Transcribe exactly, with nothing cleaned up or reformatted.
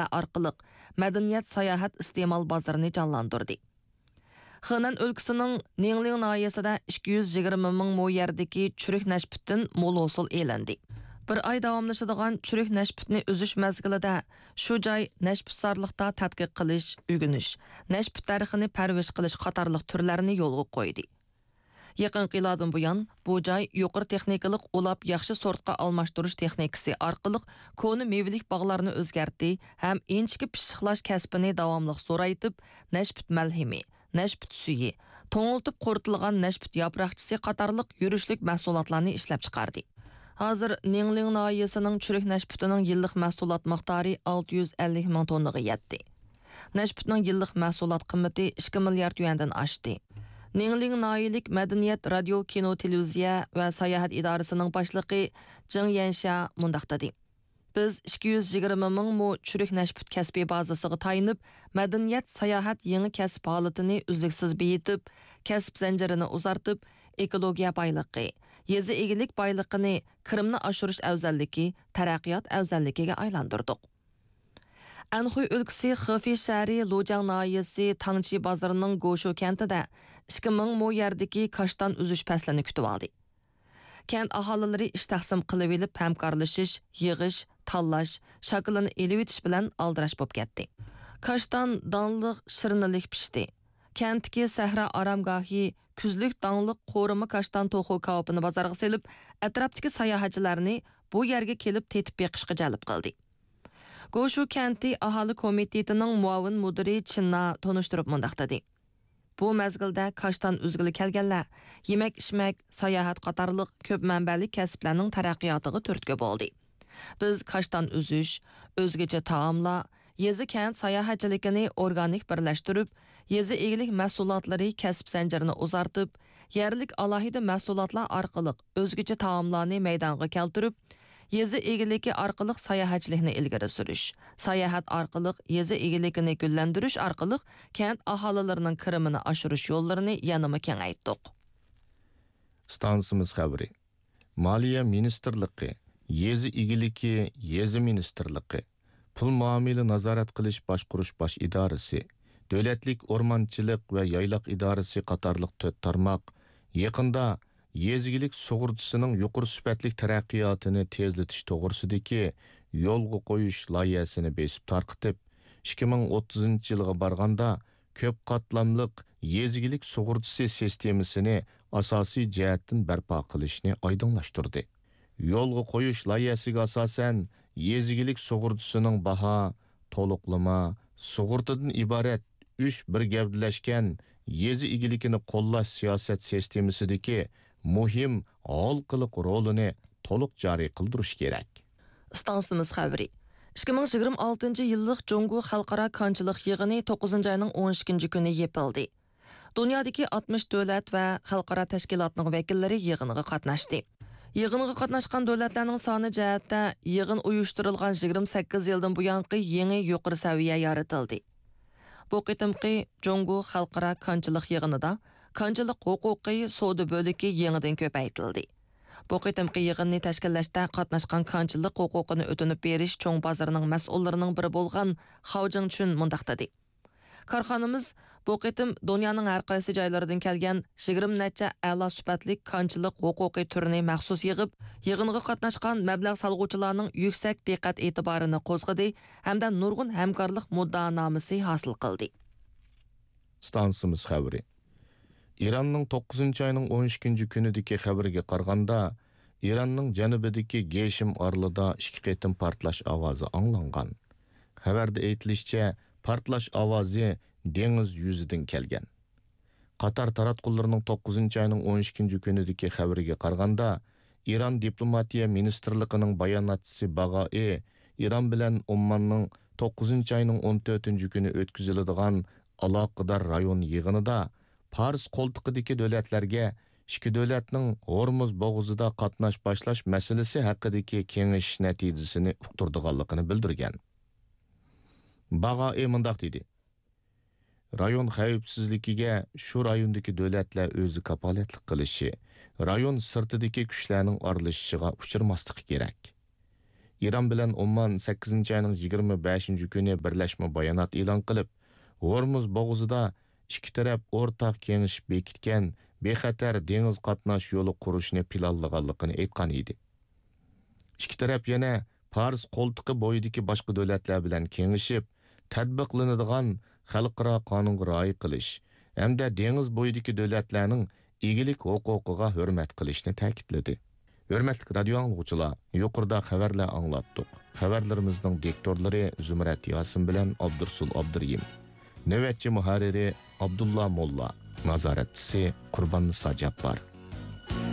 ئارقىلىق مەدەنىيەت، ساياھەت، ئىستېمال بازىرىنى جانلاندۇردى. خېنەن ئۆلكىسىنىڭ نىڭلىڭ ناھىيەسىدە ئىككى يۈز يىگىرمە مىڭ مو يەردىكى چۈرۈك نەشپۈتتىن مول ھوسۇل ئېلىندى. بىر ئاي داۋاملىشىدىغان چۈرۈك نەشپۈتنى ئۈزۈش مەزگىلىدە شۇ جاي نەشپۈتزارلىقتا تەتقىق قىلىش، ئۆگىنىش، نەشپۈت دەرىخىنى پەرۋىش قىلىش قاتارلىق تۈرلەرنى يولغا قويدى. يېقىنقى يىلاردىن بۇيان، بۇ جاي يۇقىرى تېخنىكىلىق ئۇلاپ ياخشى سورتقا ئالماشتۇرۇش تېخنىكىسى ئارقىلىق كونا مېۋىلىك باغلارنى ئۆزگەرتتى ھەم ئىنچىكە پىششىقلاش كەسپىنى داۋاملىق زورايتىپ، نەشپۈت مەلھىمى، نەشپۈت سۈيى، توڭلىتىپ قۇرۇتۇلغان نەشپۈت ياپراقچىسى قاتارلىق يۈرۈشلۈك مەھسۇلاتلارنى ئىشلەپچىقاردى. ھازىر نىڭلىڭ ناھىيەسىنىڭ چۈرۈك نەشپۈتىنىڭ يىللىق مەھسۇلات مىقدارى ئالتە يۈز ئەللىك مىڭ توننىغا يەتتى. نەشپۈتنىڭ يىللىق مەھسۇلات قىممىتى ئىككى مىليارد يۈەندىن ئاشتى. نىڭلىڭ ناھىيەلىك مەدەنىيەت، رادىيو، كىنو، تېلېۋىزىيە ۋە ساياھەت ئىدارىسىنىڭ باشلىقى جېڭ يەنشيا مۇنداق دېدى: بىز ئىككى يۈز يىگىرمە مىڭ مو چۈرۈك نەشپۈت كەسپىي بازىسىغا تايىنىپ، مەدەنىيەت، ساياھەت يېڭى كەسىپ ھالىتىنى ئۈزلۈكسىز بېيىتىپ، كەسىپ زەنجىرىنى ئۇزارتىپ، ئېكولوگىيە بايلىقى، يېزا ئىگىلىك بايلىقىنى كىرىمنى ئاشۇرۇش ئەۋزەللىكى، تەرەققىيات ئەۋزەللىكىگە ئايلاندۇردۇق. ئەنخۇي ئۆلكىسى خېفېي شەھىرى لۇجياڭ ناھىيەسى تاڭچى بازىرىنىڭ گوشۇ كەنتىدە ئىككى مىڭ مو يەردىكى كاشتان ئۈزۈش پەسلىنى كۈتۈۋالدى. كەنت ئاھالىلىرى ئىش تەقسىم قىلىۋېلىپ، ھەمكارلىشىش، يىغىش، تاللاش، شاكىلىنى ئېلىۋېتىش بىلەن ئالدىراش بولۇپ كەتتى. كاشتان داڭلىق شىرنىلىك پىشتى. كەنتتىكى سەھرا ئارامگاھى كۈزلۈك داڭلىق قورۇما كاشتان توخۇ كاۋىپىنى بازارغا سېلىپ، ئەتراپتىكى ساياھەتچىلەرنى بۇ يەرگە كېلىپ تېتىپ بېقىشقا جەلپ قىلدى. گوشۇ كەنتى ئاھالە كومىتېتىنىڭ مۇئاۋىن مۇدىرى چىننا تونۇشتۇرۇپ مۇنداق دېدى: بۇ مەزگىلدە كاشتان ئۈزگىلى كەلگەنلەر يېمەك-ئىچمەك، ساياھەت قاتارلىق كۆپ مەنبەلىك كەسىپلەرنىڭ تەرەققىياتىغا تۈرتكە بولدى. بىز كاشتان ئۈزۈش، ئۆزگىچە تائاملار، يېزا-كەنت ساياھەتچىلىكىنى ئورگانىك بىرلەشتۈرۈپ، يېزا ئىگىلىك مەھسۇلاتلىرى كەسىپ زەنجىرىنى ئۇزارتىپ، يەرلىك ئالاھىدە مەھسۇلاتلار ئارقىلىق ئۆزگىچە تائاملارنى مەيدانغا كەلتۈرۈپ، يېزا ئىگىلىكى ئارقىلىق ساياھەتچىلىكنى ئىلگىرى سۈرۈش، ساياھەت ئارقىلىق يېزا ئىگىلىكىنى گۈللەندۈرۈش ئارقىلىق كەنت ئاھالىلىرىنىڭ كىرىمىنى ئاشۇرۇش يوللىرىنى يەنىمۇ كېڭەيتتۇق. ئىستانسىمىز خەۋىرى. مالىيە مىنىستىرلىقى، يېزا ئىگىلىكى، يېزا مىنىستىرلىقى، پۇل مۇئامىلە نازارەت قىلىش باشقۇرۇش باش ئىدارىسى، دۆلەتلىك ئورمانچىلىق ۋە يايلاق ئىدارىسى قاتارلىق تۆت تارماق يېقىندا يېزا ئىگىلىك سۇغۇرتىسىنىڭ يۇقىرى سۈپەتلىك تەرەققىياتىنى تېزلىتىش توغرىسىدىكى يولغا قويۇش لايىھەسىنى بېسىپ تارقىتىپ، ئىككى مىڭ ئوتتۇزىنچى يىلغا بارغاندا كۆپ قاتلاملىق يېزا ئىگىلىك سۇغۇرتىسى سىستېمىسىنى ئاساسىي جەھەتتىن بەرپا قىلىشنى ئايدىڭلاشتۇردى. يولغا قويۇش لايىھەسىگە ئاساسەن، يېزا ئىگىلىك سۇغۇرتىسىنىڭ باھا، تولۇقلىما، سۇغۇرتىدىن ئىبارەت ئۈچ بىر گەۋدىلەشكەن يېزا ئىگىلىكىنى قوللاش سىياسەت سىستېمىسىدىكى مۇھىم ھالقىلىق رولىنى تولۇق جارى قىلدۇرۇش كېرەك. ئىستانسىمىز خەۋىرى. ئىككى مىڭ يىگىرمە ئالتىنچى يىللىق جۇڭگو خەلقئارا كانچىلىق يىغىنى توققۇزىنچى ئاينىڭ ئون ئىككىنچى كۈنى يېپىلدى. دۇنيادىكى ئاتمىش دۆلەت ۋە خەلقئارا تەشكىلاتنىڭ ۋەكىللىرى يىغىنغا قاتناشتى. يىغىنغا قاتناشقان دۆلەتلەرنىڭ سانى جەھەتتە يىغىن ئۇيۇشتۇرۇلغان يىگىرمە سەككىز يىلدىن بۇيانقى يېڭى يۇقىرى سەۋىيە يارىتىلدى. بۇ قېتىمقى جۇڭگو خەلقئارا كانچىلىق يىغىنىدا كانچىلىق ھوقۇقى سودا بۆلىكى يېڭىدىن كۆپەيتىلدى. بۇ قېتىمقى يىغىننى تەشكىللەشتە قاتناشقان كانچىلىق ھوقۇقىنى ئۆتۈنۈپ بېرىش چوڭ بازىرىنىڭ مەسئۇللىرىنىڭ بىرى بولغان خاۋ جىڭچۈن مۇنداق دېدى: كارخانىمىز بۇ قېتىم دۇنيانىڭ ھەر قايسى جايلىرىدىن كەلگەن يىگىرمە نەچچە ئەلا سۈپەتلىك كانچىلىق ھوقۇقى تۈرىنى مەخسۇس يىغىپ، يىغىنغا قاتناشقان مەبلەغ سالغۇچىلارنىڭ يۈكسەك دىققەت ئېتىبارىنى قوزغىدى ھەمدە نۇرغۇن ھەمكارلىق مۇددىئانامىسى ھاسىل قىلدى. ئىستانسىمىز خەۋىرى. ئىراننىڭ توققۇزىنچى ئاينىڭ ئون ئىككىنچى كۈنىدىكى خەۋىرىگە قارىغاندا، ئىراننىڭ جەنۇبىدىكى گېشىم ئارىلىدا ئىككى قېتىم پارتلاش ئاۋازى ئاڭلانغان. خەۋەردە ئېيتىلىشىچە، پارتلاش ئاۋازى دېڭىز يۈزىدىن كەلگەن. قاتار تاراتقۇلىرىنىڭ توققۇزىنچى ئاينىڭ ئون ئىككىنچى كۈنىدىكى خەۋىرىگە قارىغاندا، ئىران دىپلوماتىيە مىنىستىرلىقىنىڭ باياناتچىسى باغائى ئىران بىلەن ئومماننىڭ توققۇزىنچى ئاينىڭ ئون تۆتىنچى كۈنى ئۆتكۈزۈلىدىغان ئالاقىدار رايون يىغىنىدا پارس قولتۇقىدىكى دۆلەتلەرگە ئىككى دۆلەتنىڭ ھورمۇز بوغۇزىدا قاتناش باشلاش مەسىلىسى ھەققىدىكى كېڭىشىش نەتىجىسىنى ئۇقتۇرىدىغانلىقىنى بىلدۈرگەن. باغائى مۇنداق دېدى: رايون خەۋپسىزلىكىگە شۇ رايوندىكى دۆلەتلەر ئۆزى كاپالەتلىك قىلىشى، رايون سىرتىدىكى كۈچلەرنىڭ ئارىلىشىشىغا ئۇچرىماسلىقى كېرەك. ئىران بىلەن ئومان سەككىزىنچى ئاينىڭ يىگىرمە بەشىنچى كۈنى بىرلەشمە بايانات ئېلان قىلىپ، ھورمۇز بوغۇزىدا ئىككى تەرەپ ئورتاق كېڭىشىپ بېكىتكەن بىخەتەر دېڭىز قاتناش يولى قۇرۇشنى پىلانلىغانلىقىنى ئېيتقان ئىدى. ئىككى تەرەپ يەنە پارس قولتۇقى بويىدىكى باشقا دۆلەتلەر بىلەن كېڭىشىپ، تەتبىقلىنىدىغان خەلقئارا قانۇنغا رىئايە قىلىش ھەمدە دېڭىز بويىدىكى دۆلەتلەرنىڭ ئىگىلىك ھوقۇقىغا ھۆرمەت قىلىشنى تەكىتلىدى. ھۆرمەتلىك رادىيو ئاڭلىغۇچىلار، يۇقىرىدا خەۋەرلەر ئاڭلاتتۇق. خەۋەرلىرىمىزنىڭ دىكتورلىرى زۇمرەت ياسىن بىلەن ئابدۇرسۇل ئابدۇرېھىم. نۆۋەتچى مۇھەررىرى ئابدۇللا موللا. نازارەتچىسى قۇرباننىسا جاپپار.